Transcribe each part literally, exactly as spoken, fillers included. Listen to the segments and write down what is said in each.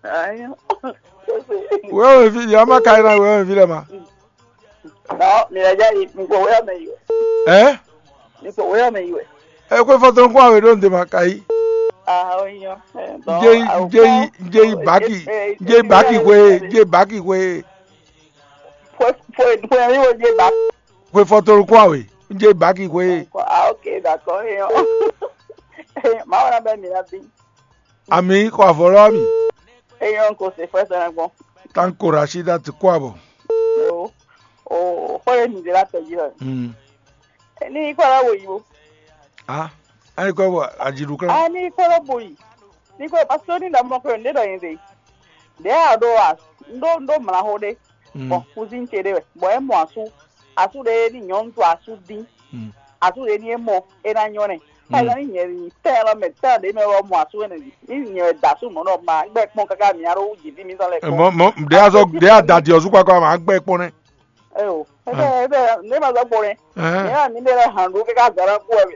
Ayo. Wéwéví, yě wá má ka yi ná wéwéví lɛ ma. Non, mi lɛ jɛ yi, mi ko wéyɔ mɛ yi wɛ. Ɛ? Mi ko wéyɔ mɛ yi wɛ. Ɛ xwé fɔtɔn kún awě ɖó ǹdè ma ka yi. Ah, oyin. Njé yi njé yi njé yi baki njé yi baki xwé njé yi baki xwé Fue, fue, fue, mi wo je ba. Xwé fɔtɔn kún awě njé yi baki xwé. Ah, ok, d'accord. Eyan. Mawu na bɛ mi na bi. Ami xɔ avɔ lɔ mi. Eyan ko se fue sɛ na gbɔn. Tanko Rashida ti kó abɔ. O, o, xɔ ye mi de la tɔ ji lɔ. Hmm. Ni kɔ la wo yi bo. Ah, ayi kɔ bɔ ajiɖu kan. Ah, ni kɔ la bo yi. Ni kɔ parce que ni da mɔ ko ne da yin de. De a do a. Ndo ndo mla ho de. Hmm. Bon, cousine ce de. Bon, e mo asu. Asu de ni nyɔnu to asu din. Hmm. Asu de ni e mo e na nyɔ ne. Ka ni nyɛ ni tɛ lɔ mɛ tɛ de mɛ wɔ mo asu ne. Ni nyɛ da su mo no ma gbe kpɔn kaka mi aro ji vi mi tɔ le. Ɛ, mɔ mɔ ɖe azɔ ɖe adadi ɔsu kpakpa ma gbɛ kpɔn nɛ. Eyo, ebe ebe ne ma zɔ kpɔn ne. Ɛhɛn. Ne ma mi ne le han do kaka zara ku abi.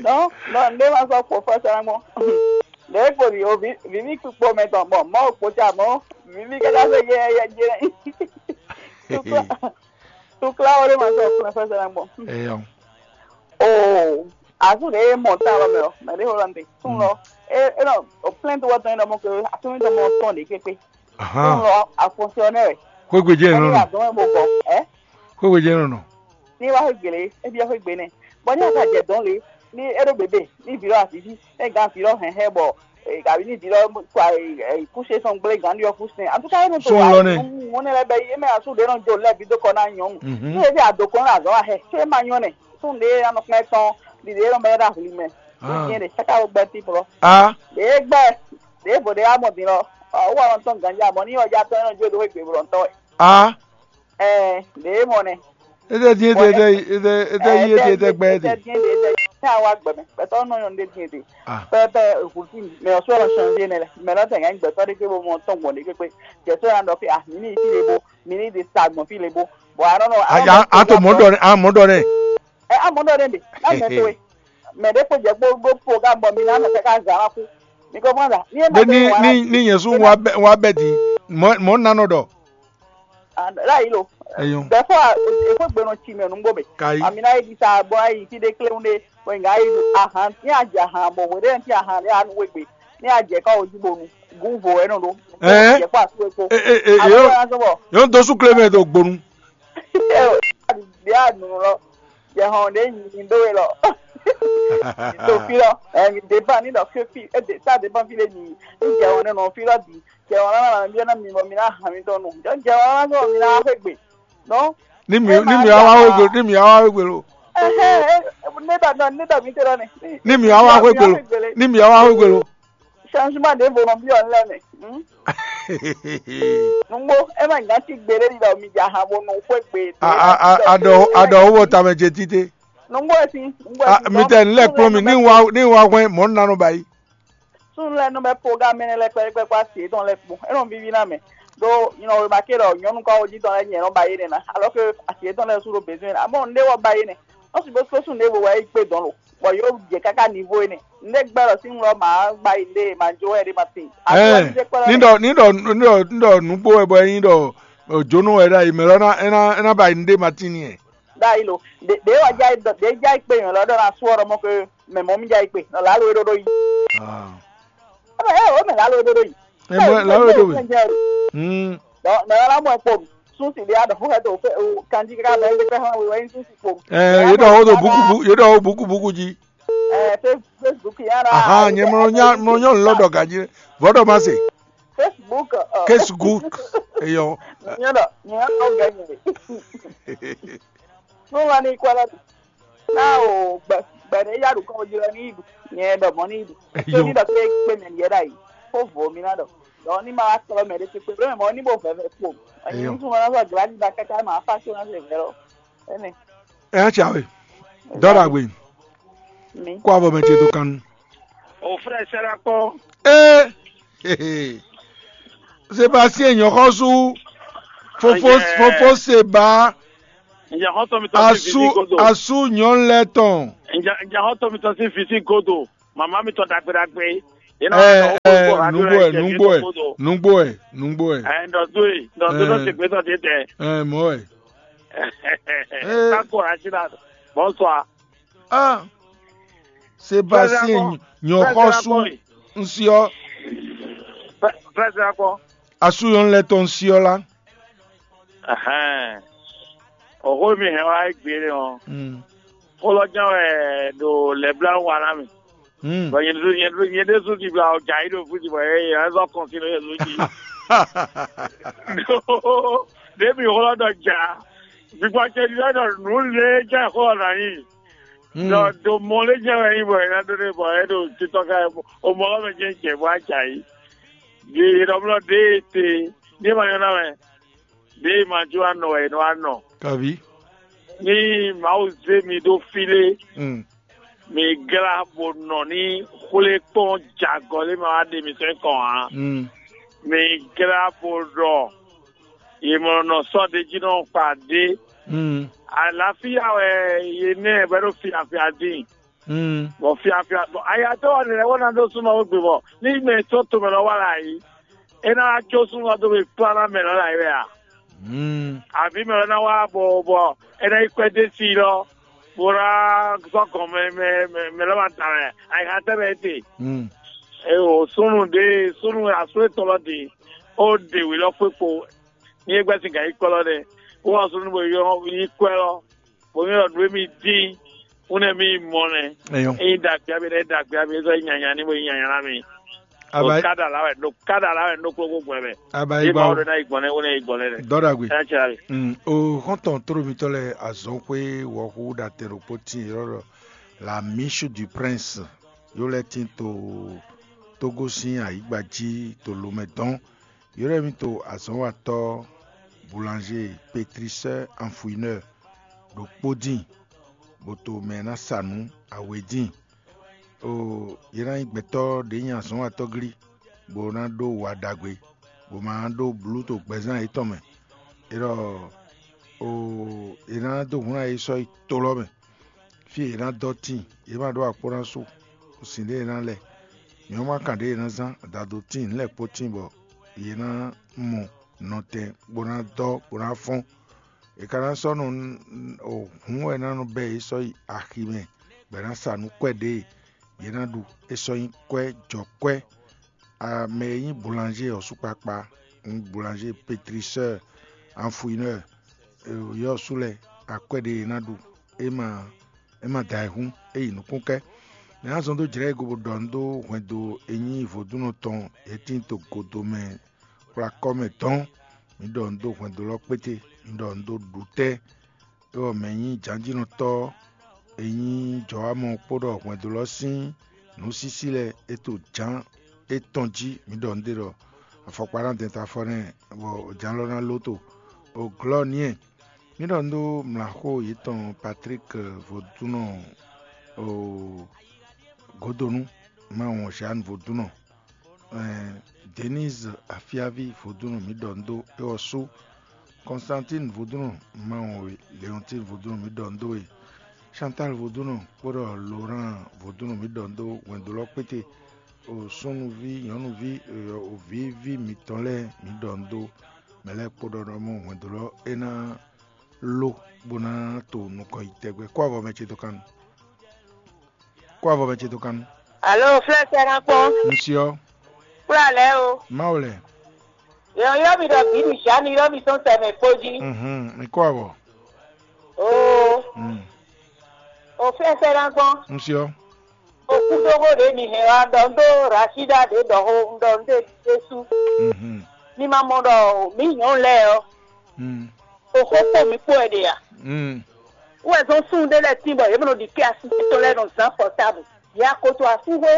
Non, non, ne ma zɔ kpɔn fɔ sara mɔ. Ne ko bi o vi vi mi kpɔ mɛ tɔn mɔ mɔ kpɔ tsa mɔ vi mi kaka se ye ye ye. Tukla tukla o ne ma zɔ kpɔn fɔ sara mɔ. Eyɔ. Oh, azu de mɔ ta lɔ mɛ o, mɛ de ho lɔ nte. Tun lɔ, e e nɔ o plainte wɔ tɔn e nɔ mɔ ke atún mi tɔn mɔ tɔn de kpekpe. Tun Ahan. Lɔ a fonctionnaire. Xwégbe jẹ́ Ɛni ìrànà. Adɔn e mo gbɔ, ɛ? Xwégbe jẹ́ ìrànà. Ní wá xwé gbélé, ebi ɔ xwé gbé nɛ. Bɔ ní aka jɛ dɔn lé, ní e ɖo bébé, ní vǐ lɔ asǐví, ní gán vǐ lɔ hɛn hɛ bɔ gǎví ní vǐ lɔ kpa kúṣe sɔn gblé gǎn ɖiɔ kúṣe. Antúká é nɔ to Sɔn lɔ nɛ. Ŋu ne lɛ bɛ yi, é mɛ asú ɖé nɔ jo lɛ bí dó kɔ ná nyɔnu. Mhm. Ní ebi adokɔn lɛ azɔn wa hɛ, ṣé ma nyɔ nɛ? Tún ɖé anɔ kpɛn tɔn, ɖiɖe nɔ bɛ ɖa hli mɛ. Ah. Ní ɖe káká wo gbɛ tí plɔ. A. Ɖě gbɛ, ɖě vo ɖě amɔ din lɔ, ɔ wɔ nɔ tɔn ganja mɔ ní ɔja tɔn nɔ jó do xwé gbé blɔ tɔn wɛ. A. Ɛ, ɖě mɔ nɛ. Ete dín ete ete ete ete yi ete ete gbɛ ete. Ete dín ete ete. Ní awa gbɛ mɛ, gbɛtɔ nɔ nyɔ ɖe dín ete. Ah. Pɛpɛ ehu tí mɛ ɔsɔ lɔ change nɛ lɛ, mɛ lɔ tɛ gán gbɛtɔ ɖe ké bo mɔ tɔn gbɔn ɖe kpekpe. Jɛsɔ na ɖɔ pé ah, mi ní yi fí ɖe bo, mi ní yi ɖe sa gbɔn fí ɖe bo. Bɔ anɔ nɔ. Aya ato mɔ dɔ ne a mɔ dɔ ne. Ɛ amɔ dɔ ne de, na mɛ to ye. Mɛ ɖe kpo jɛ kpo ɖo program bɔ mi na nɔ kaka zan la ku. Mi ko mɔ da. Ni e ma Bɛ ni ni ni yɛn su wa bɛ wa bɛ di mɔ mɔ nanɔ dɔ. La yi lo. Eyo. Bɛfɔ efo gbe nɔ tsi mɛ nugbo mɛ. Kayi. Ami na yi di sa bɔ ayi fi de kle un de. Bɔ nga yi ahan ni a jɛ ahan bɔ wɛ de ti ahan de anu wegbe. Ni a jɛ ka o ji bonu. Gun vo ɛnɔ do. Ɛɛ. Jɛ kpa su eko. E e e Abo yo ya sɔbɔ. Yo do su kle mɛ do gbonu. Bia nu lɔ. Jɛ hɔn de nyi do we lɔ. To fi lɔ. Ɛ mi de ba ni dɔ ke fi e de sa de ba fi le nyi. Ni jɛ hɔn ne nɔ fi lɔ di. Jɛ hɔn na na mi na mi bɔ mi na hàn mi tɔ nu. Jɔ jɛ hɔn na sɔ mi na xwe gbe. Non. Ni mi ni mi awa wegbe ni mi awa wegbe lo. Ɛhɛn, ne da nɔ ne da mi te lɔ ne. Ni mi awa wegbe lo. Ni mi awa wegbe lo. Changement de volonté en lɛ mɛ. Hmm? Nungbo e ma nya ti gbere di dɔ mi ja ha bo nu xwe gbe. A a a adɔ adɔ wo bɔ tamɛ jɛ tite. Nungbo e si. Nungbo e A si. mi tɛ n lɛ kplɔn mi ni wa ni wa hwɛ mɔ n nanɔ ba yi. Sun lɛ nɔ bɛ programme ne lɛ kpɛɖekpɛ kpó asi etɔn lɛ kpó. E nɔ vivi na mɛ. Do nyɔnɔ wema ke ɖɔ nyɔnu kɔ wo ji tɔn lɛ nyɛ nɔ ba ye ne na. Alors que asi etɔn lɛ su ɖo besoin na. Amɔ n ɖe wɔ ba ye ne. Ɔ si bó só sun ɖe wo wɛ yi kpé dɔn lo. Bɔ yo jɛ kaka niveau ene. N ɖe gbɛ lɔ sin lɔ ma ba yi ɖe ma jo wɛ ɖe ma tin. Ɛɛ ni ɖɔ ni ɖɔ ni ɖɔ ni ɖɔ nugbo wɛ bɔ ɛyin ɖɔ ojono wɛ ɖe ayi mɛ lɔ na ɛna ɛna ba yi nu ɖe ma tin ni ɛ. Ɖayi lo. Ɖe ɖe wa ja yi dɔ ɖe ja yi kpé yɔn lɔ ɖɔ na sɔ ɖɔ mɔ ke mɛ mɔ mi ja yi kpé. Nɔ la lo ɖo ɖo yi. Ah. Ebe ɛ o mɛ la lo ɖo ɖo yi. Ɛ mɔ la lo ɖo we. Hmm. Dɔ mɛ la mɔ kpɔ. Sun si ɖe aɖɔ xɔ hɛ to fɛ o kanji kaka bɛ ɛgbɛ hã wɛ wɛ sun si kpɔ. Ɛ yedɔ wo do buku bu yedɔ wo buku buku ji. Ɛ Face- Facebook yàrá. Aha nyɛ mɔ nya mɔ nyɔ lɔ dɔ gaji vɔdɔ ma se. Facebook. Ɔ, Case good. Eyɔ. Nyɛ dɔ nyɛ dɔ gɛ nyɛ. Mo wa ni kɔ lɛ. Na o gbɛ gbɛ ɖe ya ɖu kɔ ji lɛ ni idu. Nyɛ dɔ mɔ ni idu. Eyɔ. Ni dɔ ke kpe mɛ yɛ da yi. Ko vo mi na dɔ. Dɔ ni ma wa kplɔ mɛ ɖe kpekpe ɖo mɛ mɔ ni bo vɛvɛ kpo. Anyi Eyɔ. Ŋutsu ma na sɔ gra ni da kaka ma fa so na se vɛ lɔ. Ɛnɛ. Ɛ ya tsa we. Dɔda gbe. Mi. Kó avɔ mɛ ce do kan. O frère Sarakpɔ. Ee. Sébastien nyɔxɔsu. Fofo Ayɛ. Fofo Seba. Ǹjẹ́ hɔn tọ́ mi tọ́ sí Asu fisi godo? Asu nyɔnu lɛ tɔn. Ǹjẹ́ ǹjẹ́ hɔn tọ́ mi tọ́ sí fisi godo? Màmá mi tọ́ dàgbédàgbé. Yě nɔ wá nɔ xó xó radio lɛ́ɛ jɛ nǔgbó wɛ, nǔgbó wɛ, nǔgbó wɛ, nǔgbó wɛ. Ɛ, nɔ do e, nɔ do nɔ se gbɛtɔ́ ɖe tɛ. Ɛ, mɔ̌ wɛ. Ee. Kákó Rachida, bonsoir. Ah, Sébastien, nyɔ̌xɔ́sú, un si ɔ́. Pɛsɛ akɔ. Asú nyɔ̌nu lɛ́ɛ tɔn un si ɔ́ lá. Ɛhɛn. Oxó mi hɛn wá é gbe ɔ́. Mm. Xó lɔ ján wɛ ɖo lɛ̌bláwú wa ná mi. Mm. Bɔ nyɛ ɖésú nyɛ ɖésú nyɛ ɖésú ɖibla ɔ ja yi ɖo fúti bɔ yɛ yɛ zɔ kɔn sí ɖo yɛ zú jí. Ɖo ɖě mi xlɔ́ ɖɔ ja. Gbígbá ce ɖi lɛ́ ɖɔ nǔ lě jɛ xó ɔ́ nǎ nyi. Mm. Ɖɔ do mɔ lě jɛ wɛ nyi bɔ è nǎ ɖó ɖe bɔ é ɖo titɔ ká o mɔ ɔ́ mɛ jɛ jɛ bɔ a ja yi. Ɖi ɖɔ blɔ ɖě e te ɖě ma nyɔ́ ná mɛ. Ɖěe ma jó anɔ wɛ è nɔ wá nɔ. Kaví. Ní Mawu zé mi ɖó fí lé, Mm. mi glá bó nɔ ní xwlé kpɔ́n jagɔ lé ma wá ɖe mi sɛn kɔn ǎ. Mm. Mi glá bó ɖɔ yě mɔ nɔ sɔ́ ɖ'é jí nɔ kpa ɖé. Mm. Àlàáfíà wɛ yě nɛ bɔ é ɖo fiafia dín. Mm. Bɔ fiafia bɔ ayatɔ́ ɔ́ lɛ́ wɛ ná ɖó súnmọ́ wé gbe bɔ ní mɛ sɔ́ tomɛ lɔ wá la yí, é ná wá có súnmọ́ dó mɛ kplá ná mɛ lɔ la yí wɛ a? Mm. Àbí mɛ lɔ ná wá bɔ bɔ é ná yi kwɛ́ dó sí lɔ bó ná sɔ́ gɔn mɛ mɛ mɛ mɛ lɔ ma da wɛ ayixa tɛ́ mɛ é te. Mm. Eye o súnnu ɖe súnnu asú etɔn lɔ ɖe ó ɖe wě lɔ kpé kpo ní é gbɛ́ sin gǎn yi kɔ lɔ nɛ́. Wó wá súnnu bó yɔ yí kwɛ́ lɔ bó nyɔ́ ɖɔ nǔ e mi dín, un nɛ mi mɔ nɛ. Eyɔn. Eyin dagbe abi ɖe dagbe abi zɔ nyanya ni mo nyanya na mi. Aba. Ɖo kada la wɛ ɖo kada la wɛ ɖo kplɔkpɔ gbɛ mɛ. Aba yi gba. Ɖo na yi gbɔn nɛ wo nɛ yi gbɔn nɛ dɛ. Dɔ dagbe. Ɛ cɛ abi. Mm, o xɔntɔn toro mitɔ lɛ azɔn xwe wɔxu da tɛ ɖokpo tin yɔrɔ la misu du prince yo lɛ tin to togo sin ayigba ji to lomɛ dɔn. Yɔ́ ɖɔ mì to azɔ̌watɔ́ boulanger, pétriseur, anfuineur ɖokpó dín, bó to mɛ e ná sa nǔ awe dín. Oo, yě ná nyí gbɛtɔ́ ɖě nyí azɔ̌watɔ́ glí, bó ná ɖó wa ɖagbe, bó ma ná ɖó blú to gbɛzán yětɔn mɛ. É ɖɔ oo, yě ná dó hǔn ná yě sɔ́ yi to lɔ́ mɛ, fí e yě ná dɔ́ tíin, yě ma ɖó akpó ná su sin ɖé e ná lɛ. Nyɔ̌nu ma kan ɖě e ná zán, dado tíin, nǔ lɛ́ɛ kpó tíin bɔ yě ná mɔ nɔtɛn bó ná dɔ́ bó ná fɔ́n. È ka ná sɔ́ nɔ hǔn wɛ ná nɔ bɛ́ yě sɔ́ yi aximɛ bɔ è nǎ sa nǔ kwɛ́ ɖě e yě ná ɖu. É sɔ́ nyí kwɛ́ jɔ̌kwɛ́. Mɛ e nyí boulanger ɔ́ sú kpakpá, boulanger, pétrisseur, anfuineur, yɔ́ sú lɛ́ɛ, akwɛ́ ɖě è nǎ ɖu, é ma é ma da ayǐhún, é yi nukún kɛ́. Mɛ ná zɔn dó jlɛ̌ e go bó ɖɔ nǔ dó hwɛndo e nyí vodúnnɔ tɔn e tín to godo mɛ kplá kɔ́ mɛ dɔn. Mǐ ɖɔ nǔ dó hwɛndo lɔ kpéte, mǐ ɖɔ nǔ dó ɖu tɛ́. É wɔ mɛ nyí jǎnjínɔtɔ́ e nyí jɔwámɔ kpódɔ hwɛndo lɔ sín nǔsísí lɛ́ɛ é to jǎn étɔn jí. Mǐ ɖɔ nǔ ɖé ɖɔ afɔkpa ná dɛn ta afɔ nɛ́, bɔ jǎn lɔ ná lóto. O glɔ́ niɛ. Mǐ ɖɔ nú mlǎxó yětɔn Patrík Vodúnɔ, o Godonu, Mawɔn Jeanne Vodúnɔ, Denise Afiavi Vodúnɔ, mǐ ɖɔ nǔ dó é ɔ́ sú. Constantine Vodúnɔ, Mawɔn Leontine Vodúnɔ, mǐ ɖɔ nǔ dó we. Chantal Vodúnɔ kpódɔ Laurent Vodúnɔ, mǐ ɖɔ nǔ dó hwɛndo lɔ kpéte. O súnnuví, nyɔ̌nuví, o vǐví mǐtɔn lɛ́ɛ, mǐ ɖɔ nǔ dó mɛ lɛ́ɛ kpó ɖɔ ɖɔ mɔ hwɛndo lɔ é ná ló bó ná to nukɔn yi tɛgbɛ. Kó avɔ mɛ ce dó kan nu. Kó avɔ mɛ ce dó kan nu. Alo, flɛ́ sɛ́ ná kpɔ́n. Un si ɔ́. Kplá lɛ́ɛ o. Mawu lɛ. Yɔ yɔ mi ɖɔ bǐ mi sia mi yɔ mi sɔn sɛ mɛ kpó jí. Mhm, mi kó avɔ. Oo. Mm. O flɛ́ sɛ́ ná kpɔ́n. Un si ɔ́. Okúdóxó ɖě mi hɛn wá ɖɔ un ɖó Rashida ɖě ɖɔ xó un ɖɔ un ɖe Jesu. Mhm. Mi ma mɔ ɖɔ mǐ nyɔ̌nu lɛ́ɛ ɔ́, Mm. Oxó kpó mǐ kpó wɛ ɖe a? Mm. Wɛ zɔn súnnu ɖé lɛ́ɛ tín bɔ yě mɛ nɔ ɖi kɛ́ asú tɔn lɛ́ɛ nɔ zán pɔtábu. Yě akoto asúxwé.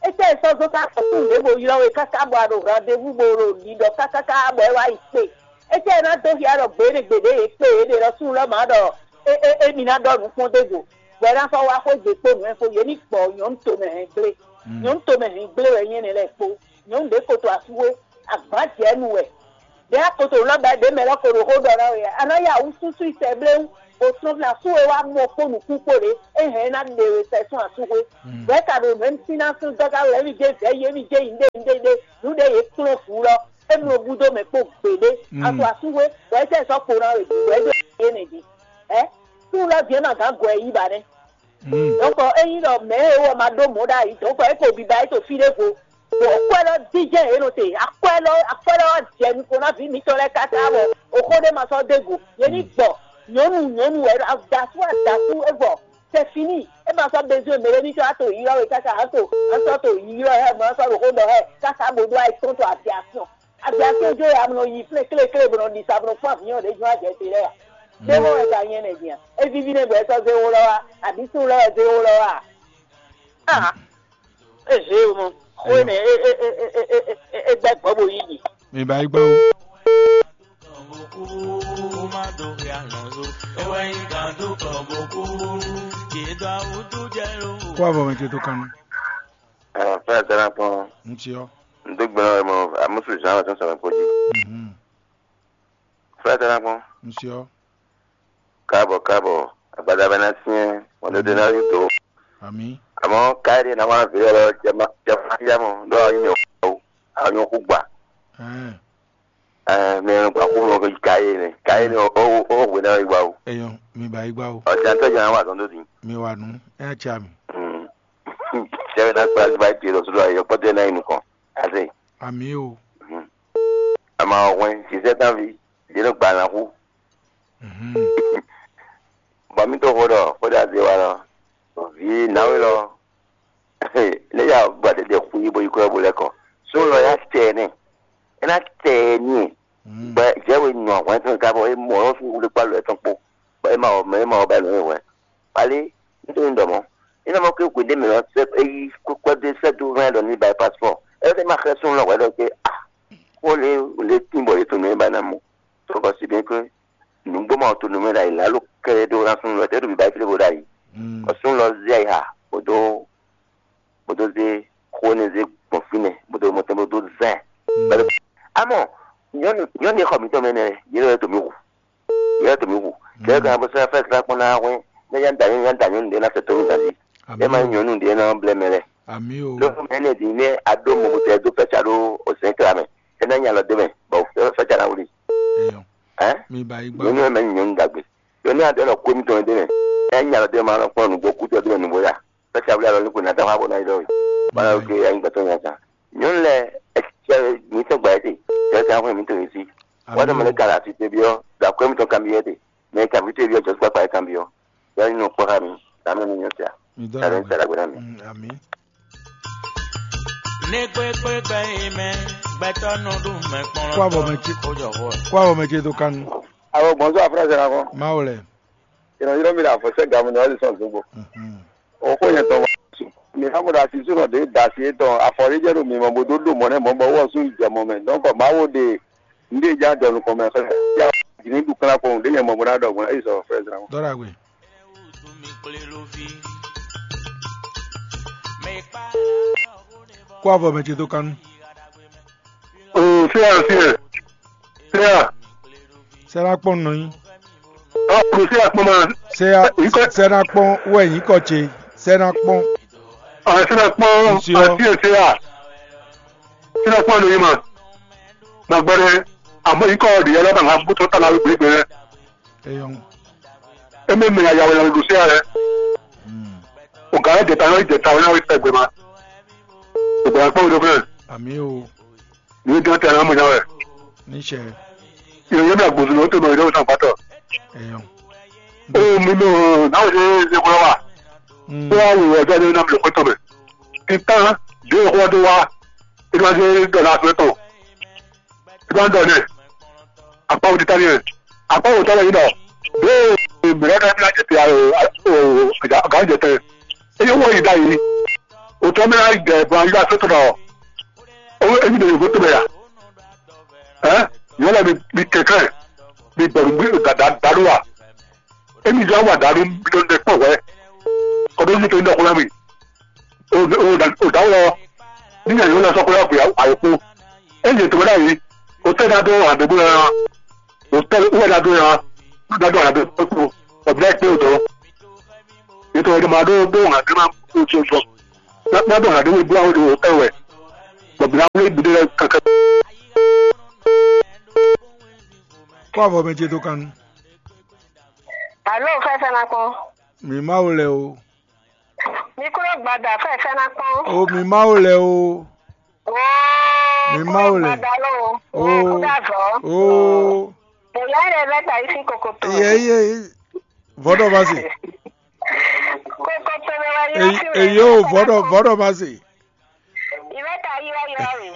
Étɛ́ e sɔ́ zɔ́n ká xɔ súnnu ɖěvo ylɔ́ we káká bɔ a ɖo hwandevú bo ɖo ɖiɖɔ kákáká bɔ é wá yi kpe. Étɛ́ e ná dó hiá ɖɔ gbě ɖé gbeɖé yě kpe yě ɖe ɖɔ súnnu lɔ́ mǎ ɖɔ é é émí ná ɖɔ nǔ kpɔ́n dó go. Bɔ é ná sɔ́ wá xwé gbe kpó nǔ e fó yě ní gbɔ nyɔ̌nu tomɛ hɛn gblé. Mm. Nyɔ̌nu tomɛ hɛn gblé wɛ nyí énɛ́ lɛ́ɛ kpó. Nyɔ̌nu ɖě koto asúxwé, agbǎn jɛ nú wɛ. Ɖě akoto lɔ́ bɛ́ ɖě mɛ lɔ́ ko ɖo xó ɖɔ ná we a nǎ ya wǔ súsú i sɛ bléwú. Bó sɔ́ fí asú e wá mɔ kpó nǔkún kpó ɖě, é hɛn é ná ɖe we sɛ sɔ́ asúxwé. Bɛ̌ ka ɖo mɛ̌ sín ná sún dɔ́ ká wɛ émí jɛ vɛ̌ yi émí jɛ yi ɖé yi ɖé ɖé nǔ ɖé yě kplɔ́n vǔ lɔ. É mlɔ gúdo mɛ kpó gbeɖé. Asu asúxwé, bɔ é sɛ sɔ́ kpo ná we bɔ é ɖo yé nɛ jí. Ɛ, sún lɔ vǐ ɛ ma gǎn gɔ ɛ yí ba nɛ́. Donc ényí ɖɔ mɛ̌ e wɔ ma ɖó mɔ̌ ɖ'ayǐ, donc é ko biba é to fí ɖěvo. Bɔ akwɛ́ lɔ díjɛ́n yě nɔ te, akwɛ́ lɔ akwɛ́ lɔ wá jɛ nukɔn ná vǐ mitɔn lɛ́ɛ káká bɔ oxó ɖé ma sɔ́ dó go. Yě ní gbɔ nyɔ̌nu nyɔ̌nu wɛ, adasú adasú é vɔ. C'est fini. É ma sɔ́ bezoin mɛ ɖé ní sɔ́ ato yíyɔ we káká ato asɔ to yíyɔ hɛ mɔ asɔ ɖo xó ɖɔ hɛ káká bo ɖó ayikɔn to aviation. Aviation jó ya mɔ yi flé klé klé bɔ nɔ ɖi sa bɔ nɔ fún avion ɖé jó ajɛ te lɛ ya. Ɖé mɔ wɛ ka nyɛ nɛ dia. É víví nɛ bɔ é sɔ́ zé wó lɔ wa, àbí sún lɔ wɛ zé wó lɔ wa. Ah, é zé o mɔ. Xó nɛ é é é é é é é gbɛ gbɔ bo yí yi. Mi ba yi gbɔ o. Kó avɔ mɛ ce tó kanu. Fɛ́ ɛ tɛ́ ná kpɔ́n. Ŋutí ɔ́. N dó gbe ná wɛ mɔ amúsù Jean wɛ tɔn sɔmɛ kpó jí. Mhm. Fɛ́ ɛ tɛ́ ná kpɔ́n. Ŋutí ɔ́. Káàbọ̀ káàbọ̀, àgbàdo abẹ ná syɛ́n, wọn dó dé ná yí dó. Àmì. Àmọ́ káyé ná wá vǐ lɔ jẹ má jẹ má yá mɔ ɖó àwọn yìí mɛ wò àwọn yìí kú gbà. Ɛɛ. Ɛɛ mɛ gba kú mɔ káyé nɛ káyé nɛ ó ó ó hwé ná yí wá o. Eyɔn, mi ba yi gbá o. Ọjà tó jẹ àwọn àtọ́ndó dín. Mi wà nù, ẹ á tsa mi. Sẹ́wọ́n ná gba gba ìpè lọ sọ́dọ̀ ayọ̀ pọ́tẹ́ náà inú kan. Àti. Àmì o. Àmà ọ̀hún ẹ̀ ṣiṣẹ́ tán fi, ìdílé gbà náà kú. Mhm. Bɔ mí tó xó ɖɔ xó ɖe azé wa lɔ, vǐ náwé lɔ, ne ya gba ɖeɖe xú yí bó yi kɔ bó lɛ́ kɔ. Sún lɔ ya tɛ ɛ nɛ, é ná tɛ ɛ ní ɛ. Bɔ jɛ we nɔ hwɛn tɔn ka bɔ é mɔ ɔ́ fún wúlé kpá lɔ ɛ tɔn kpó, bɔ é ma wɔ mɛ é ma wɔ ba nɔ é hwɛn. Kpali, nítorí ɖɔ mɔ, é ná mɔ ké hwedé mɛ ɔ́ sɛ é yí kpɛ́ dó sɛ dó hɛn ɖɔ ní ba passeport. É fẹ́ ma xlɛ́ sún lɔ hwɛ ɖɔ ké a, kó lé lé tín bɔ yě tɔn nɔ é ba ná mɔ. Tó bɔ si bien que nǔgbó ma to nǔmɛ ɖ'ayǐ lá ló kɛ ɖó ná súnnu lɔ tɛ́ ɖo bǐbá yi flé bó ɖ'ayǐ. Bɔ súnnu lɔ zé ayixa bó dó bó dó zé xó énɛ́ zé gbɔn fínɛ́ bó dó mɔtɛn bó dó zɛn. Amɔ nyɔ́nu nyɔ́nu e xɔ mǐtɔn mɛ nɛ́ yě lɔ to mǐ hu yě lɔ to mǐ hu kɛ́ kan bó sɔ́ fɛ́ srá kpɔ́n ná hwɛ́n nɛ́ yá da nyɔ́nu yá da nyɔ́nu ɖé ná fɛ tó mǐ ganjí é má nyí nyɔ̌nu ɖé ná blɛ́ mɛ lɛ́ɛ. Lónú mɛ énɛ́ din nɛ́ a ɖó mɔ bó tɛ dó fɛ́ ca ɖó òsɛ́n kla mɛ é ná nya lɔ dó mɛ bɔ fɛ́ ca ná wlí. Ɛ? Mi ba yi gbɔ. Nyɔnu ɛmɛ nyɔnu dagbe. Yɔ ní adé nɔ kó mi tɔn dé mɛ. Ɛ nya lɔ dé ma nɔ kpɔn nugbo kú tɔ dé mɛ nugbo ya. Fɛ ca wuli alɔ ní ko na da wa bɔ na yi dɔ. Bala oke ayi gbɛtɔ nya ta. Nyɔnu lɛ ɛ cɛ mi tɔ gba yɛ te. Cɛ ta fún mi tɔn yi si. Wa dɔ mɛ ne kala asi te biɔ. Da kó mi tɔn kan biɔ te. Mɛ ka mi te biɔ jɔ kpa kpa kan biɔ. Ya ni nɔ kpɔ ka mi. Da mɛ mi nyɔ tia. Mi dɔ Da la mɛ sara gbɛdɔ mi. Ami. Ní kpékpékpé yi mɛ, gbɛtɔ́ nɔ ɖu mɛ kplɔ́n. Kó abɔ mɛ ce. Kó jɔ hó ɛ. Kó abɔ mɛ ce dó kanu. Alo, bonsoir, frère Sénakɔ. Mawu lɛ. Ìrànyílọ́ mi ɖe àfɔ̀sẹ́ gàmù ní ɔ́lì sɔ̀n zogbo. Mhm. Òkú yẹn tɔn wá sùn. Mi hã mo ɖo asisúnɔ ɖě da asi étɔn afɔɖéjɛ ɖo mi mɔ bó dó ɖo mɔ̌ nɛ́ mɔ̌ bɔ wɔ sún jɛ mɔ mɛ. Donc Mawu ɖe nǔɖé ja jɔ nukɔn mɛ xlɛ́. Ya jǐ ní ɖu kplá kpɔn ɖě nyɛ mɔ bó ná ɖɔ gbɔn. Eyi sɔ frère Sénakɔ. Dɔ́ ɖagbe. Kó avɔ mɛ ce dó kánú. Oo, séa, séa, séa. Sɛ ná kpɔn nɔ nyi. Ɔ, kò séa kpɔn ma. Sɛ Yìí kɔ. Sɛ ná kpɔn wɛ yìí kɔ ce. Sɛ ná kpɔn. Ɔ, séa kpɔn. Ŋutsu ɔ. Ɔ, séa, séa. Séa kpɔn nɔ nyi ma. Gbàgbọ́ dɛ, àmọ́ yìí kɔ ɖìyɛ lọ́ba ŋà bó tọ́ tala wí gbégbé rẹ. Eyɔn. Eme mɛ ya yawe lalo ɖo séa rɛ. Hmm. O gǎn jɛta yɔ jɛta wɛ náwó tɛgbɛ ma. O gbɛ́ kpɔ́ wɛ ɖó fún ɛ. Àmì o. Ní dán tẹ náà mọ̀ nyáwɛ. Níṣẹ́. Yóò yẹ mi àgbòsùn ló tó mọ̀ ìdánwò sàn pátọ̀. Eyɔn. O mi mọ̀ náwó ṣe é ṣe kúrọ́ wà. Hmm. Tó wá wò ọjọ́ ní náà mi lè kó tó mẹ́. Títàn dé ìkó ọdún wa. Ìdí wá sí dọ̀là àfẹ́ tó. Ìdí wá ń dọ̀ ní. Àpá òdì tán ni ẹ̀. Àpá òdì tán ni ẹ̀. Bẹ́ẹ̀ ni mìíràn náà ní àjẹtẹ̀ àgá àjẹtẹ̀. Eye wɔ yi da yi. Òtún mi náà jẹ ìbọn ayé àti tọ̀nà. Owó ebi de yòókù tó bẹ̀ yà. Ẹ́ yóò lọ bí kẹ̀kẹ́ bí bẹ̀rù bí dàdú wa. Emi jẹ́ wà dàdú bí tó ń dẹ pọ̀ wẹ́. Kọ́dọ̀ yìí tó ń dẹ kúrẹ́ mi. O da wọ. Níyà yóò lọ sọ kúrẹ́ àpò àyẹ̀kú. Eye tó bẹ́ẹ̀ yìí. O tẹ́ da dó àdégbò yẹn. O tẹ́ wúwẹ́ da dó yẹn. Da dó àdégbò. Bɔ bla kpé wò dɔn. Yě tɔn yě ma ɖó ɖó hǎn ɖé ma kó tso tɔ. Ná ná ɖó hǎn ɖé wé blá wé ɖo ɛ wɛ. Bɔ bla wé ɖé lɛ́ɛ káká. Kó avɔ mɛ ce dó kan nu. Alo, fɛfɛ na kpɔn. Mi Mawu lɛ o. Mi kúrò gbada, fɛfɛ na kpɔn. O mi Mawu lɛ o. Oo, Mi kúrò Mawu lɛ. Gbada lo. Oo. Oo, kúrò azɔ. Oo. Èyí á lè bɛ ta yìí sí kokoto. Yɛ yɛ vɔdɔ ma se. Kokoto bɛ wá yọ Èyí sí èyí o vɔdɔ vɔdɔ ma se. Ìwé ta yí wá yọ rè.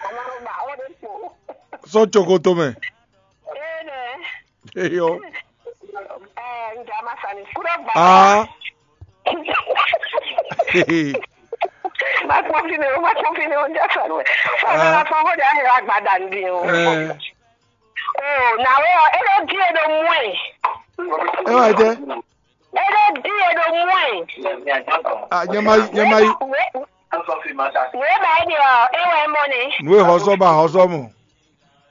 Àmọ́ mo gbà ó dé pò. Sɔ tsokoto mɛ. Ee nɛ. Eyɔ. Ɛɛ, n jɛ ama sani. Kúrò gbada. Aa. Ma kpɔn fi ne o, ma kpɔn fi ne o, n jɛ sɔn wɛ. Fana la fɔn ko de ahe wa gba da ndi o. Ɛɛ. O, na we o, e do di e do mu e. E wa jɛ. E do di e do mu e. A nyɛ ma nyɛ ma yi. We, we ba e de o, e wɛ mɔ ne. Nue hɔsɔ ba hɔsɔ mɔ.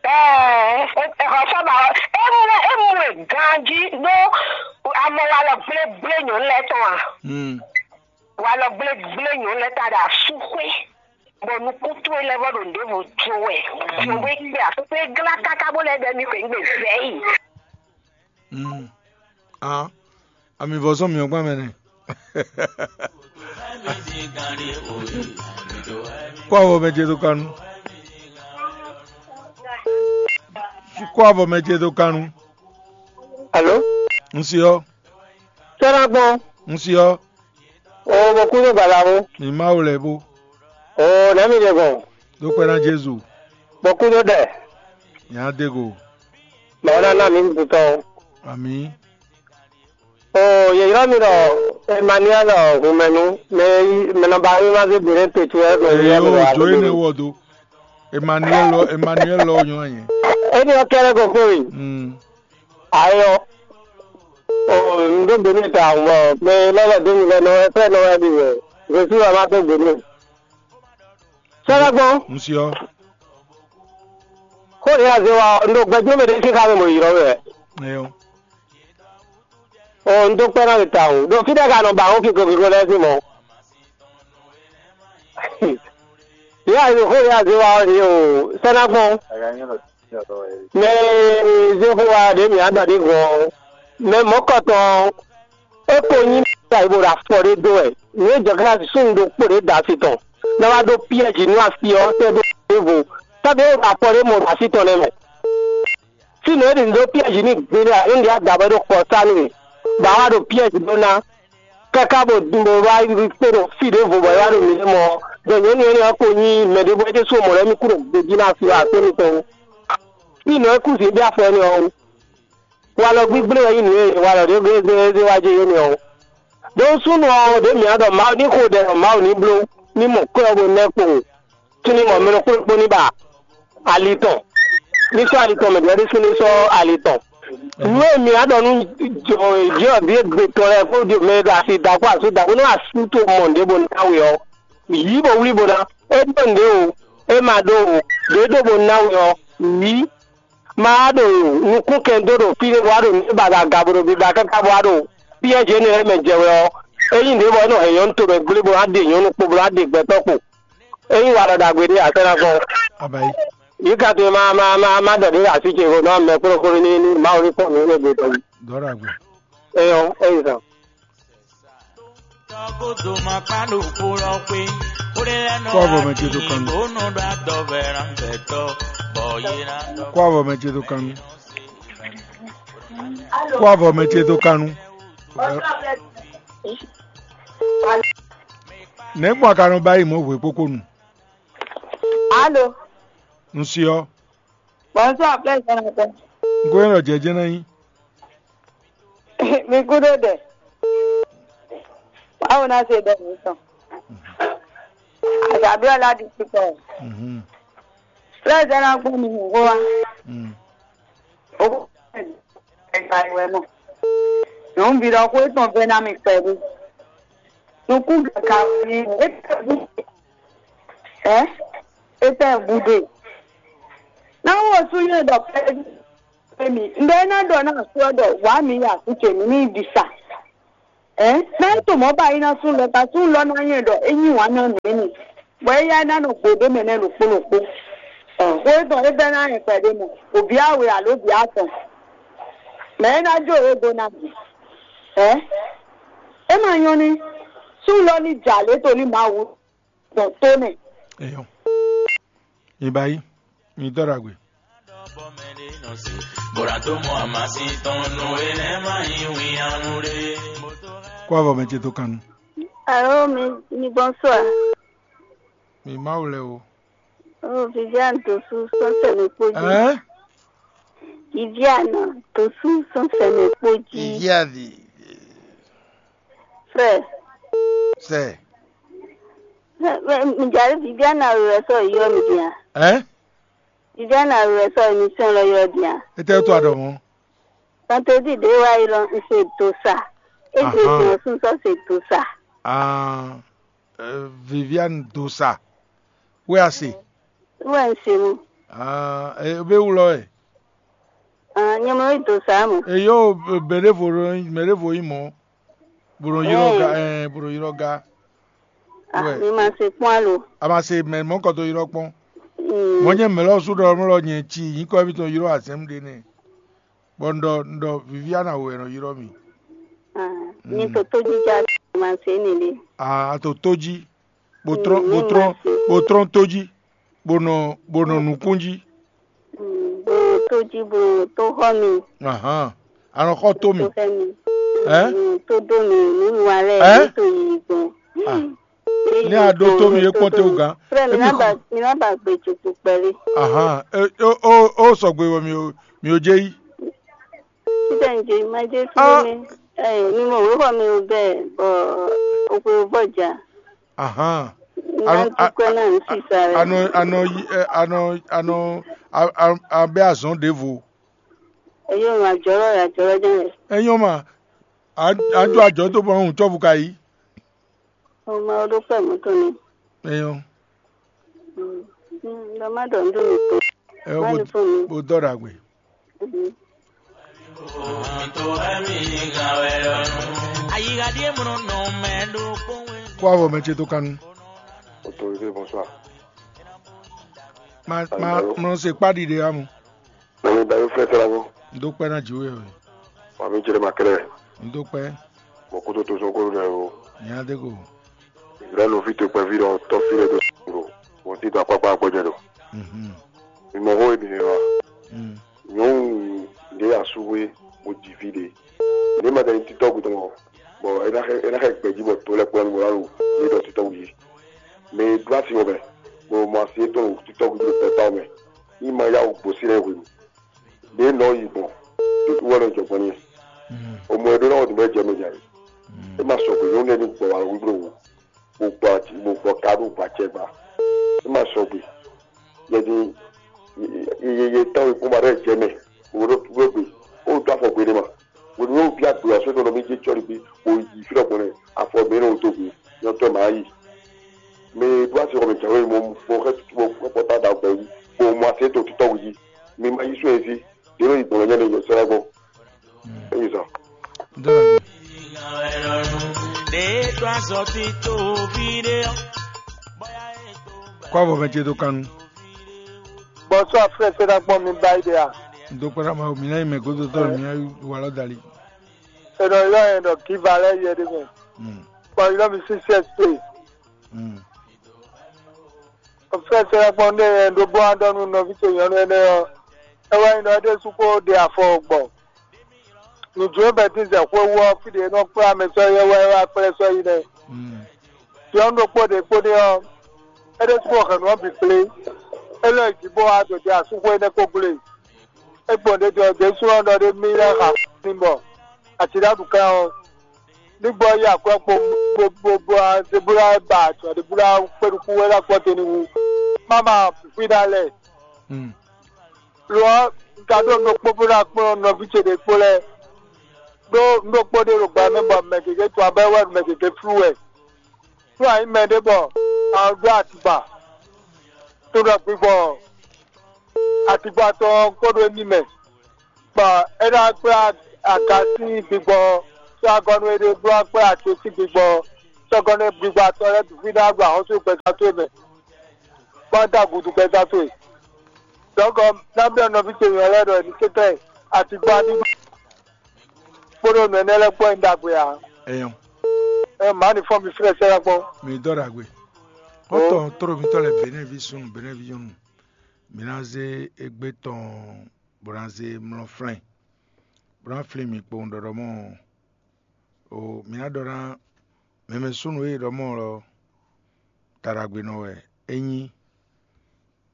Ɛɛ, e hɔsɔ ba hɔ, e mu e mu e ganji ɖó amɔ wa lɔ gblégblé nyɔ̌nu lɛ́ɛ tɔn a? Hmm. Walɔ gblégblé nyɔ̌nu lɛ́ɛ ta ɖo asúxwé, bɔ nukún towe lɛ́ɛ vɔ ɖo nǔɖévo jó wɛ. Jǒwe kpe asúxwé glá káká bó lɛ́ ɖɔ émí xweyǐgbe vɛ̌ yi. Mm. Ah, ami vɔ sɔn mi ɔgbɔn mɛ nɛ. Kó avɔ mɛ ce dó kanu. Kó avɔ mɛ ce dó kanu. Alo? N si ɔ. Sɛ́nɛgbɔn. N si ɔ. O bɔ kúdó gbalawo. Mi Mawu lɛ bó. O nɛ̌ mi ɖe gbɔn? Ɖó kpɛ́ ná Jezu. Bɔ kúdó ɖɛ. Nya dego. Mɛ ɔ́ ná ná mi tutɔ. Ami. O yě ylɔ́ mi ɖɔ Emmanuel hunmɛnu, mɛ e yí mɛ nɔ ba wíwá zé gbe nɛ́ te ce wɛ mɛ e ylɔ́ mi ɖɔ o dó énɛ́ wɔ dó. Emmanuel lɔ Emmanuel lɔ nyɔ́ anyɛ. Éní ɔ́ kɛ́ɖɛ́ ko kpé we. Mm. Ayɔ. O n ɖó gbe nú ta bɔ mɛ lɛ́lɛ́ dó mi lɛ nɔ wɛ fɛ́ nɔ wɛ mi wɛ. Jesu wɛ ma dó gbe nú. Sɛ́lɛ́gbɔn. N si ɔ. Xó ɖě a zé wa ɔ́, un ɖo gbɛjló mɛ ɖé sín xá mɛ bɔ ylɔ́ we wɛ. Eyɔ. O un dó kpɛ́ ná mi tawun ɖo fí ɖé ka nɔ ba xó kiko kiko lɛ́ɛ sín mɔ̌. Yě a xó ɖě a zé wa ɔ́ ɖě o sɛ́ ná gbɔn. Mɛ e zé xó wa ɖě mǐ á ɖɔ ɖě gɔ́n ɔ́, mɛ mɔ̌kɔtɔn ɔ́, é ko nyí ta yi bó ɖo afɔ ɖé dó wɛ. Nǔ e jɔ xlɛ́ súnnu ɖokpó ɖě da asi tɔn, bɔ é wá ɖó piɛ́ji nú asi ɔ́ tɛ́ dó ɖěvo, tɔ́ ɖě e ɖo afɔ ɖé mɔ ɖo asi tɔn lɛ́ɛ mɛ. Fínɛ́ é ɖi nǔ ɖó piɛ́ji n'i gbeɖé ǎ, é ɖi adǎ bɔ é ɖo xɔ sá nú mì, bɔ a wá ɖo piɛ́ji ɖó ná, káká bɔ bɔ wá yi kpé ɖo fí ɖěvo bɔ é wá ɖo mǐ ɖe mɔ ɔ́, ɖɔ nyɔ̌nu énɛ́ ɔ́ ko nyí mɛ ɖěvo é ɖésú mɔ̌ lɛ́ɛ mì kú ɖo gbejí ná asi ɔ́, akwɛ́ mitɔn wú. Fínɛ́ é kú zǐn ɖé afɔ énɛ́ ɔ́ wú. Walɔ gbígblé wɛ nyí nǔ e walɔ ɖě gblé zé zé wá jɛ yě nɛ ɔ́. Ɖó súnnu ɔ́ ɖě mǐ ɖɔ Mawu ní xo ɖɛ ɖɔ Mawu ní bló ní mɔ kwɛ́ ɔ́ bó nɛ́ kpowun, cíní mɔ mɛ ɖokpó ɖokpó ní ba ali tɔn, ní sɔ́ ali tɔn mɛ ɖěbǔ ɖésú ní sɔ́ ali tɔn. Nǔ e mǐ ɖɔ nú jɔ̌ ɖě gbe tɔn lɛ́ɛ kpódó mɛ e ɖo asi da kpó asú da kpó nú asú to mɔ nǔɖé bó ná we ɔ́, yǐ bó wlí bó ná. É ɖó nǔɖé o, é ma ɖó o, ɖě ɖó bó ná we ɔ́, yǐ. Ma wá ɖo nukúnkɛn dó ɖo fí ɖé bó wá ɖo nǔ e ba ɖo aga bo ɖo biba káká bó wá ɖo fí e jě énɛ́ lɛ́ɛ mɛ jɛ wɛ ɔ́, é nyí nǔɖé bɔ é nɔ hɛn nyɔ̌nu tomɛ gblé bó ná ɖe nyɔ̌nu kpo bó ná ɖe gbɛtɔ́ kpo. É nyí walɔ ɖagbe ɖé ǎ, sɛ́ ná gbɔn. Abayi. Yǐ ka towe ma ma ma ma ɖɔ ɖě ɖo así ce vo nɔ mɛ kplɔ́kplɔ́ ní ní Mawu ní kpɔ́n nǔ e gbe tɔn. Dɔ̌ ɖagbe. É nyɔ́, é yi zan. Kó avɔ mɛ ce dó kan nú. Kó avɔ mɛ ce dó kan nú. Kó avɔ mɛ ce dó kan nú. Nɛ̌ gbɔn a ka nɔ ba yi mɔ̌ hwe kpókpó nu? Alo. Un se ɔ́. Bonsoir, Blaise Jonathan. Un ko nyɔ́ ɖɔ jɛjɛ ná nyí. Mi kúdó ɖɛ. Báwo ná ṣe bẹ̀rẹ̀ nìkan? Àṣàbí Ọládìpúpọ̀. Mhm. Blaise ná gbọ́n mi nìkó wá. Mm. Owó ẹ̀ka ìwé mọ̀. Nyɔ̌nuví ɖɔ xó étɔn vɛ́ ná mi pɛ́lú. Nukún gǎgá wɛ ní é tɛ bú. Ɛ é tɛ bú dé. Náwó osú yóò dɔ pɛ́lú. Emi, un ɖɔ é ná ɖɔ ná asú ɔ́ ɖɔ wǎ mǐ yi asú ce mǐ ní yi ɖi sa. Ɛ ná é to mɔ̌ ba yi ná sú lɔ, ta sú lɔ ná nyɛ ɖɔ é nyi wǎn ná mǐ ni, bɔ éyá é ná nɔ gbo ɖó mɛ nɛ́ ɖokpó ɖokpó. Xó étɔn é bɛ́ ná nyɛ kpɛɖé mɔ, òbí awe alo bǐ atɔn, mɛ é ná jó é dó ná bǐ. Ɛ é ma nyɔ́ ní sú lɔ ní jà lě tolí Mawu. Dɔn tó nɛ. Eyɔn. Ibayi, mi dɔ ɖagbe. Bora tó mɔ amasin tɔn nú enɛ má nyí winnyanu ɖé. Kó avɔ mɛ ce tó kan nu. Alo, mi, mi bonsoir. Mi Mawu lɛ o. Oh, Viviane Dosu sɔnsɛ mi kpó jí. Hein? Viviane Dosu sɔnsɛ mi kpó jí. Viviane. Frère. Sɛ. Mɛ, mɛ, mi jali Viviane awe wɛ sɔ yɔ mi dia. Hein? Viviane awe wɛ sɔ émission lɔ yɔ dia. Ete to adɔ mɔ. Tantedi ɖe wa yi lɔ n se do sa. E se Ahan. Do sun sɔ se do sa. Ah, euh, Viviane Dosa. Wɛ a se. Wɛ n se mu. Ah, e be wulɔ ɛ. Ah, nyɛ mɔ yi do sa mu. E yo, mɛ ɖevo, mɛ ɖevo yi mɔ. Bro yrɔ ga, eh, bro yrɔ ga. Ah, Wɛ. Mi ma se kpɔn alo. A ma se mɛ mɔ kɔ to yrɔ kpɔn. Mm. Mɔ nyɛ mɛ lɔ su ɖɔ mɔ lɔ nyɛ ci, yi kɔ mi to yrɔ azɛm ɖe nɛ. Bɔ n ɖɔ, n ɖɔ Viviana wɛ nɔ yrɔ mi. Ah, Mm. Mi to to jija ma se ne le. Ah, a to to ji. Bo trɔn, Mm, bo mi trɔn, ma se. Bo trɔn to ji. Bo nɔ, bo nɔ nukún ji. Mm, bo to ji, bo to xɔ mi. Ahan. A nɔ xɔ to mi. To xɛ mi. Ɛ? Mm, to do mi, nu wa lɛ, Ɛ? Mi to yi gbɔn. Ah. Ní a ɖó tó mi é kpɔ́n téwú gán. Frère, mi ná ba, mi ná ba gbe tso kpukpɛ lé. Ahan. E, o, o, o sɔgbe wɔ mi o, mi o jɛ yi. Títẹ̀ ń jẹ, má jẹ́ fún Ah. Mi. Ẹ, mi mọ̀ wíwọ́ mi ò bẹ́ẹ̀, bọ̀ òpè ò bọ̀ jà. Ahan. Má Ano, a, dúpẹ́ a, náà ń a, sì sáré. Ano, ano, yi- ɛ, ano, ano, a, a, a bɛ azɔn ɖěvo. Ẹ yóò ràn àjọrọ̀ àjọrọ̀ jẹ́ rẹ̀. Ẹ yɔn ma, a, a jọ àjọ tó bọ ń tsɔ́ fún ka yìí. Ọmọ ọdún pẹ̀ mọ́tò ni. Ẹ yɔn. Mm. Mm, lọ má dọ̀ ń dùn mí pé. Ẹ yọ Má bó ní fún mi. Bó dọ́ra gbé. Mhm. Kó avɔ mɛ ce tó kanu. Autorisé, bonsoir. Ma, ma, Allô? Mlɔ se kpa ɖiɖe amu. Mami Dayo fẹ́ sara ko. N dó kpɛ́ ná jǐ we o. Mami Jerema kɛlɛ. N dó kpɛ́. Mɔ kótó tó sɔn kó lɛ o. Nya de ko. Israɛl fi to kpɛví ɖɔ tɔ́ fi lɛ do sɔn do. Wọ́n ti do akpákpá gbɔjɛ do. Mhm. Mimɔ xó ebinɛ wa. Mm. Nyɔnu ɖe asúwe mo ji vi ɖe. Ne ma ɖe titɔ gudɔn bɔ ena xe ena xe gbɛji bɔ to lɛ kplɔn bɔ alo ne dɔ titɔ wuyi. Mɛ e ɖó asi wɔbɛ bɔ mɔ asi etɔn ɖo titɔ gudu ɖo pɛta mɛ. Ní ma yá wò gbǒsí lɛ hwenu. Ɖě nɔ yi gbɔn ɖo wɛ nɔ jɔ gbɔn n'i. O mɔ e ɖó ná wɔ dǐn bɔ é jɛ mɛ nya yi. É ma sɔgbe nyɔnu lɛ́ɛ ní gbɔ wǎ wíwló wò. Bó gbɔ ati bó gbɔ ka ɖó gbɔ acɛ gba. É ma sɔgbe. Yɛ din ye ye tɔn yi kpɔ́n ba ɖo jɛ mɛ. Wo ɖo wo gbe. Wo do afɔ gbe ɖe ma. Wo ɖo bi agbe aso ɖo mi je tsɔ ɖi bi. Wo yi fi ɖɔ gbɔn nɛ afɔ mi ɖo to gbe. Nyɔ tɔ ma yi. Mi ɖo asi xɔ mi jɛ wo yi mo mo xɛ mo xɛ pɔta da gbɛ yi. Mo mo ase to tutɔ wu yi. Mi ma yi su ezi. Ɖe nɔ yi gbɔn nyɛ ne yɔ sɛ gbɔ. Eyi zɔ. Kó avɔ mɛ ce dó kanu. Bonsoir frère, c'est la bonne mi bayi de ya. N dó kpɛ́ ná Mawu, mi ná yi mɛ gódó tɔn, mi ná yi walɔ dali. C'est dans là un qui va là il y a des gens. Bon, il a mis six S P. Fɛ́ sɛ́ kpɔ́n ɖé e ɖó bó wá ɖɔ nú nɔví ce nyɔ̌nu énɛ́ ɔ́, é wɛ nyí ɖɔ é ɖésú kó ɖe afɔ gbɔn. Nǔjó bɛtín zɛ xwé wú ɔ́, fí ɖě é nɔ kplá mɛ sɔ́ yɛ wɛ é wá kplɛ́ sɔ́ yi nɛ́. Nyɔ̌nu ɖokpó ɖě kpó n'i ɔ́, é ɖésú xɔ hɛ̌nnu ɔ́ bǐ kplé. É lɔ́ yi jǐ bó wá ɖo ɖe asúxwé énɛ́ kó gblé. É gbɔn ɖě ɖɔ ɖěsú ɔ́ ɖɔ ɖé mì lɛ́ xa ní bɔ atíɖáɖu kan ɔ́, ní gbɔ yí akwɛ́ kpo bó bó bó ná debúlá ba azɔ̌ debúlá kpé ɖokpó wɛ ná gbɔ te ní wú. Má ma fífí ná lɛ. Lo ɔ́, un ka ɖó nǔ ɖokpó bó ná kplɔ́n nɔví ce ɖě kpó lɛ́ɛ. Ɖó nǔ ɖokpó ɖé ɖo gbɛ mɛ bɔ mɛ gěgé tɔn abɛ́ wɛ ɖo mɛ gěgé flú wɛ. Nú a nyǐ mɛ ɖé bɔ a ɖó atigba, to ɖɔ gbigbɔ atigba tɔn ɔ́ kpo ɖó émí mɛ. Bɔ é ná kplá aga sín gbigbɔ, sɔ́ agɔ́nú e ɖe bló ɔ́ kplá agě sín gbigbɔ, sɔ́ gɔ́nú e gbigbɔ atɔn lɛ́ɛ bǐ fí ná gba ahɔ́sú gbɛzán towe mɛ, bó ná dó agudu gbɛzán towe. Dɔ̌nkɔ, ná byɔ́ nɔví ce nyɔ̌ lɛ́ɛ ɖɔ è ní kɛ́tɛ́ atigba ní kpódó nǔ énɛ́ lɛ́ɛ kpó nyí ɖagbe ǎ. Eyɔn. Ɛ má ní fɔ mi flɛ́ sɛ́ ná kpɔ́n. Mi dɔ́ ɖagbe. Xɔ́ntɔn tló mitɔ́ lɛ́ɛ Benɛ́vi súnnu, Benɛ́vi nyɔ́nu, mi ná zé égbé tɔn bó ná zé mlɔ́ flɛ́n, bó ná flín mi kpowun ɖɔɖɔ mɔ. O, mi ná ɖɔ ná mɛmɛ súnnu e ɖɔ mɔ lɔ, ta ɖagbe nɔ wɛ é nyí,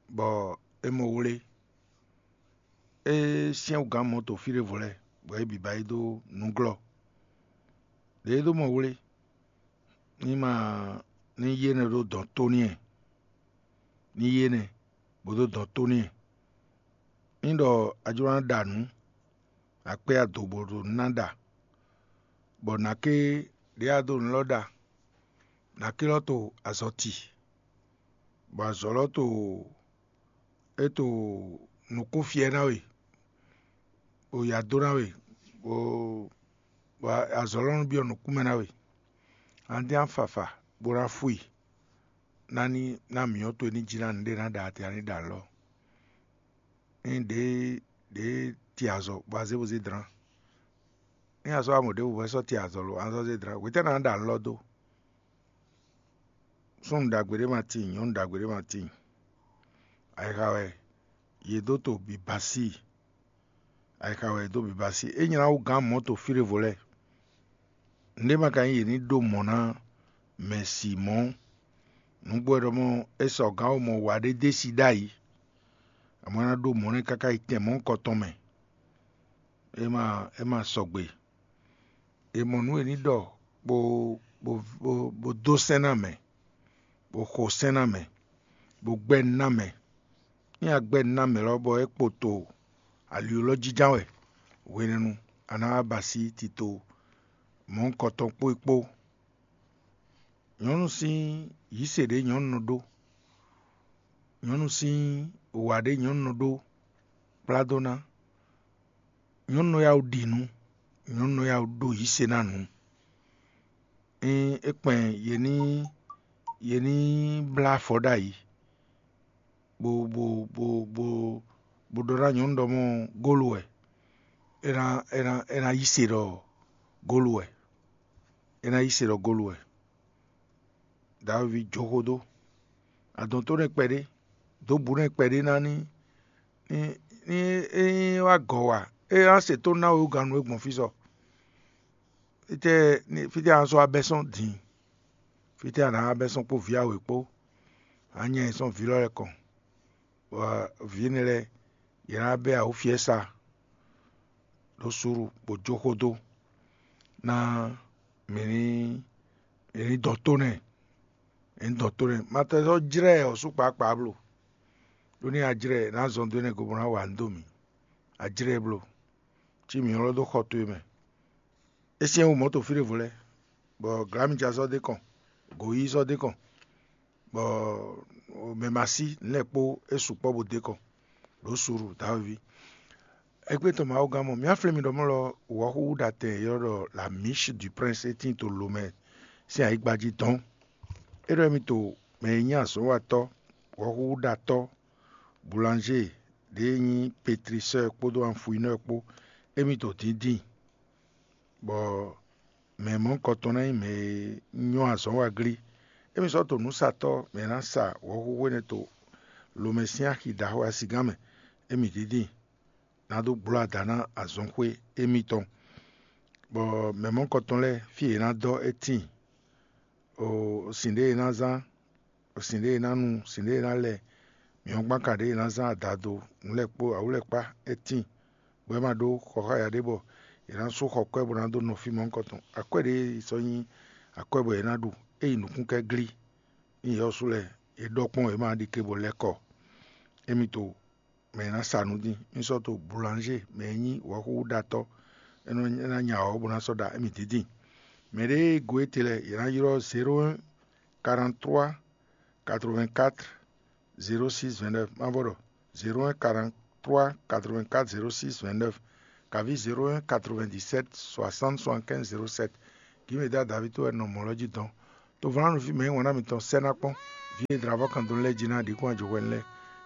bɔ é mɔ wlé. É syɛ́n wú gǎn mɔ̌ to fí ɖěvo lɛ́ɛ, bɔ é bǐ ba yi dó nǔglɔ́. Đě é dó mɔ wlé, ní ma ní yé nɛ́ ɖó dɔ̌n tó n'i, ní yé nɛ́ bó dó dɔ̌n tó n'i. Ní ɖɔ a jló ná ɖa nǔ, a kpé ado bó ɖo ná ɖa, bɔ nǎké ɖě a dó nǔ lɔ ɖa, nǎké lɔ to azɔ̌ ti, bɔ azɔ̌ lɔ to é to nǔkún fyɛ ná we, bó ya dó ná we, bó bɔ azɔ̌ lɔ nɔ byɔ́ nǔkún mɛ ná we. Andé afafa bó ná fú i, ná ní ná mǐ ɔ́ towe ní jí ná nǔɖé ná ɖa atɛ ná ní ɖa lɔ. Ní ɖě ɖě ti azɔ̌ bɔ azé bó zé dlán. Ní a sɔ́ amɔ̌ ɖěbǔ bɔ é sɔ́ ti azɔ̌ lo, a sɔ́ zé dlán, hwetɛ́ ná ɖa lɔ dó? Súnnu ɖagbe ɖé ma tíin, nyɔ̌nu ɖagbe ɖé ma tíin. Ayixa wɛ yě dó to bǐbasí. Ayixa wɛ yě dó bǐbasí. É nylá wú gǎn mɔ̌ to fí ɖěvo lɛ́ɛ. Nǔɖé ma ka nyí yě ní ɖó mɔ̌ ná mɛ si mɔ̌. Nǔgbó wɛ ɖɔ mɔ é sɔ gǎn wú mɔ wa ɖé dó e si ɖ'ayǐ. Amɔ̌ é ná ɖó mɔ̌ nɛ́ káká yi tɛn mɔ̌hunkɔtɔn mɛ. É ma é ma sɔgbe. È mɔ nǔ e ní ɖɔ bó bó bó bó dó sɛ́n ná mɛ, bó xo sɛ́n ná mɛ, bó gbɛ́ nú ná mɛ. Ní a gbɛ́ nú ná mɛ lɔ bɔ é kpo to ali lɔ jínján wɛ hwenɛ́nu, a nǎ wá ba así tito mɔ̌hunkɔtɔn kpó é kpó. Nyɔ̌nu sín yǐ se ɖě nyɔ̌nu nɔ ɖó, nyɔ̌nu sín wa ɖě nyɔ̌nu nɔ ɖó kplá dó ná, nyɔ̌nu nɔ yá wú ɖi nǔ, nyɔ̌nu nɔ yá wú ɖó yǐ se ná nǔ. Ényí é kpɛn yě ní yě ní blá afɔ ɖ'ayǐ, bó bó bó bó bó ɖɔ ná nyɔ̌nu ɖɔ mɔ gólu wɛ, é ná é ná é ná yí se ɖɔ gólu wɛ, é ná yí se ɖɔ gólu wɛ. Davívi jó xó dó, adɔn tó nɛ́ kpɛɖé, dǒ bǔ nɛ́ kpɛɖé ná ní ní ní é wá gɔ̌ wa, é ná se tónú ná we wú gannú e gbɔn fí sɔ. Fítɛ́ fítɛ́ a nǎ sɔ́ wá bɛ́ sɔ́n din? Fítɛ́ a nǎ wá bɛ́ sɔ́n kpó vǐ awě kpó? A nyɛ e sɔ́n vǐ lɔ lɛ́ɛ kɔn, bɔ vǐ énɛ́ lɛ́ɛ yě ná bɛ́ awǔfiɛ́sa ɖó suúlu bó jó xó dó ná mǐ ní mǐ ní dɔn tó nɛ́, mǐ ní dɔn tó nɛ́. Ma tɛ sɔ́ jlɛ́ ɔ̌ sú kpaagbaa bló, ɖó ní a jlɛ́ ná zɔn dó énɛ́ go bó ná wa nǔ dó mǐ. A jlɛ́ bló, cí mǐ ylɔ́ dó xɔ towe mɛ. É syɛ́n wú mɔ̌ to fí ɖěvo lɛ́ɛ, bɔ glǎmija sɔ́ dó kɔn, gǒyí sɔ́ dó kɔn, bɔ mɛ ma sí nǔ lɛ́ɛ kpó é sukpɔ́ bó dó kɔn ɖǒ suɖu dǎwe ví. Égbé tɔn Mawu gán mɔ, mǐ á flɛ́ mi ɖɔ mɔ̌ lɔ wɔ̌xúxú ɖatɛn e ylɔ́ ɖɔ la Miche du Prince é tíin to lomɛ sín ayǐgba jí dɔ̌n. É ɖɔ émí to mɛ e nyí azɔ̌watɔ́, wɔ̌xúxú ɖatɔ́, boulangé ɖě e nyí pétrisɔ́ kpódó anfuinɔ́ kpó, émí to dǐndín, bɔ mɛ mɔ̌hunkɔtɔn ná nyí mɛ e nyɔ́ azɔ̌ wa glí. Émí sɔ́ to nǔsatɔ́ mɛ e ná sa wɔ̌xúxú énɛ́ to lomɛ sín axi ɖaxó asigán mɛ, émí dǐndín ná dó gbló ada ná azɔnxwé émítɔn, bɔ mɛ mɔ̌hunkɔtɔn lɛ́ɛ fí e yě ná dɔ́ é tíin, o sin ɖě e ná zán, sin ɖě e ná nu, sin ɖě e ná lɛ, mǐhɔ́ngban ka ɖě e ná zán adado, nǔ lɛ́ɛ kpó awǔ lɛ́ɛ kpá é tíin, bɔ é ma ɖó xɔ xá ya ɖé bɔ è nǎ sú xɔ kwɛ́ bó ná dó nɔ fí mɔ̌hunkɔtɔn. Akwɛ́ ɖě sɔ́ nyí akwɛ́ bɔ è nǎ ɖu, é yi nǔkún kɛ́ glí, nú yɛ ɔ́ sú lɛ́ɛ, è ɖɔ kpɔ́n è ma ɖi ke bɔ lɛ́ kɔ. Émi to mɛ e ná sa nǔ dín, mì sɔ́ to boulangé mɛ e nyí wɔ̌xúxúɖatɔ́, é nɔ é ná nya wɔ̌ bó ná sɔ́ ɖa émi dídin. Mɛ ɖě e go étɛ́ lɛ́ɛ, è nǎ ylɔ́ zéro un quarante-trois quatre-vingt-quatre zéro six vingt-neuf, má vɔ ɖɔ zéro un quarante-trois quatre-vingt-quatre zéro six vingt-neuf. Kaví zéro un quatre-vingt-dix-sept soixante soixante-quinze zéro sept. Gǐmeda David wɛ nɔ mɔ̌ lɔ jí dɔn. Tovlánúví mɛ e wǎn ná mitɔn sɛ́ ná kpɔ́n. Vǐ e dlǎvɔ́ kan dó lɛ́ɛ jí ná ɖi kún ajɔhwɛ́nu lɛ́ɛ.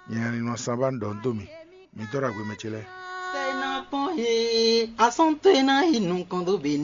Nyɛ Alinɔ Sanbá un ɖɔ nǔ dó mì. Mi dɔ́ ɖo agbe mɛ ce lɛ́ɛ. Sɛ́ ná kpɔ́n he, asɔ́n towe ná yi nukɔn dó be